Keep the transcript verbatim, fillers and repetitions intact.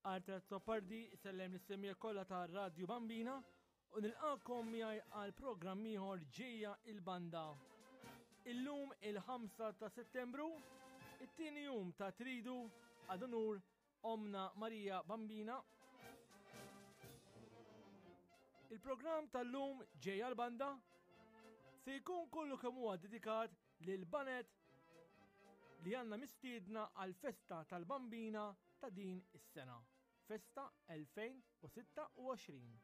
Arthur Azzopardi sellem lis-semmiegħa kollha ta' Radju Bambina u nilqakom miegħi għal programm ieħor Ġejja il-Banda. Illum il-ħamsa ta' Settembru, it-tieni jum ta' Tridu ad unur Omna Marija Bambina. Il-programm tal-lum Ġejja l-Banda se jkun kollu kemm huwa dedikat lil banet li għandna mistiedna għal festa tal-Bambina ta' din is-sena. Festa elfejn u sitta u għoxrin.